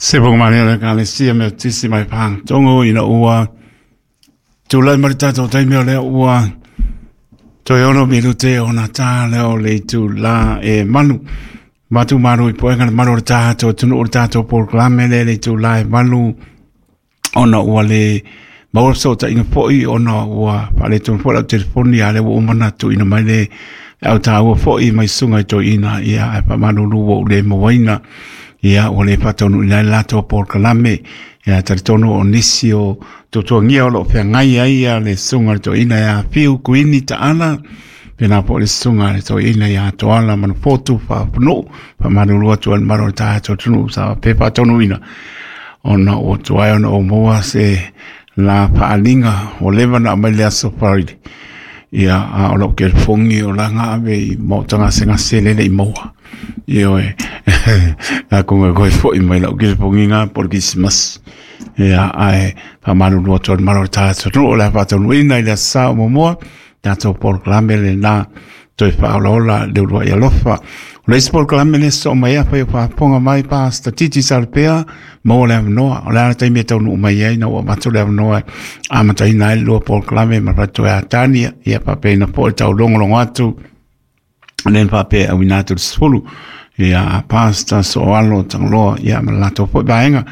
Se fofoga malie o le Ekalesia Metotisi mai Pagatogo ina ua tulai mai le tatou taimi o lea ua toe 6 minute ona ta lea o le itulā e 8. Matu malu i poega le malu o le tatou atunuu o le tatou polokalame lea i le itulā e 8 ona ua le maua le fesootaiga foi ona ua faaletonu foi lau telefoni, a o lea ua uma ona tuuina mai le au taua foi mai susuga i toeaiina, ia ae faamalulu ua ou le mauaina, ia ua le faataunuuina ai le latou polokalame. Ia talitonu o nisi o tuatuagia o lo o feagai ai ia le susuga i le toeaina ia Fiu Kuini Taala, pēlā foi le susuga i le toeaina ia Toala Manufotu Faapunuu. Faamalulu atu ai le mamalu o le tatou atunuu sa pe faataunuuina ona ua tuai ona ou maua se la faaaliga ua leva ona aumai le aso Friday. Ia, a o lau telefoni o la ave i maota gasegase lele i maua. Ioe, atonu e toe foi mai lau telefoni na po o le Kerisimasi. Ia, ae faamalulu atu ai le mamalu o le tatou atunuu o le a faataunuuina i le aso Sa o muamua tatou polokalame lena toe faaolaola le uluai alofa. O le isi polokalame lea sosoo mai ai, afai o faafofoga mai Pastor Titi Salapea, maua le avanoa. O le a le taimi e taunuu mai ai na ua avatu le avanoa e amataina ai le lua polokalame ma le toe Atania, ia faapena foi le taulogologo atu lea na faapea e auina atu le 10 ia Pastor Soalo Tagaloa ia ma le latou foi vaega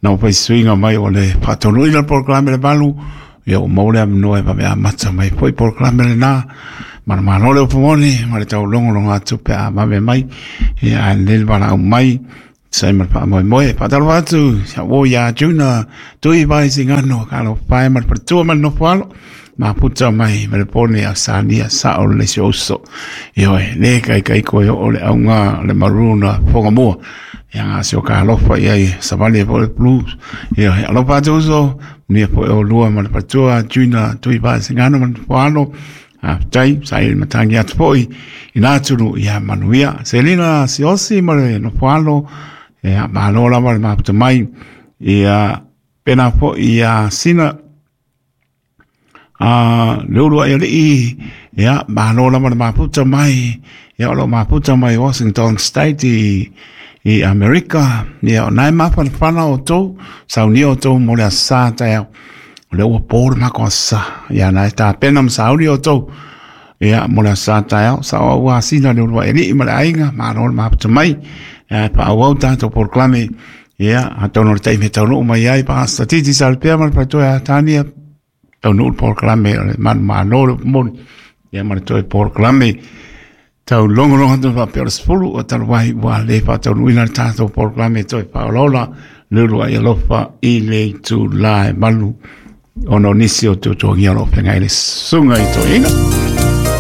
na ua fai suiga mai o le faataunuuina o le polokalame le 8, ia ua maua le avanoa e vave amata mai foi polokalame lena. Manumalo le upu moni ma le taulogologo atu pe a vave mai, ia ae lelei le valaau mai sai ma le faamoemoe. Faatalofa atu ia uo ia Juna Tui Vai Sigano ka alofa e ma le faletua ma le nofo alo maputa mai ma le pone a Sania sao le si uso. Ioe, le kaikai koe o le auga le maruna fonga mua. Ia ngā se o ka alofa i ai savali e po le blues. Ioe, alofa atu uso, nia po e o lua ma le faletua Juna Tui Vai Sigano ma le nofo alo. Faafetai, sa i matangi atu foi i nā tunu ia manuia. Selina Siosi ma le nofo alo, ia malo lava le maputa mai. Ia pēlā foi ia Sina a le ulu ai alii, ia malo lava le maputa mai. Ia o lo maputa mai Washington State i Amerika. Ia o nai mafanafana o tou, saunia o tou mo le aso Sa taeao. O lea ua po le matou aso Sa. Ia na e tapena ma sauni outou. Ia mo le aso Sa taeao, sa o au asina le uluai alii ma le aiga, malo le maputa mai. Ia e faaauau tatou polokalame. Ia, atonu o le taimi e taunuu mai ai Pastor Titi Salapea ma le faletua ia Tania, taunuu le polokalame o le manumalo le upu moni. Ia ma le toe polokalame taulogologo atu faapea o le 10 o talu ai ua le faataunuuina le tatou polokalame toe faaolaola le uluai alofa i le itulā e 8 ona o nisi o tuatuagia o lo o feagai le susuga i toeaina.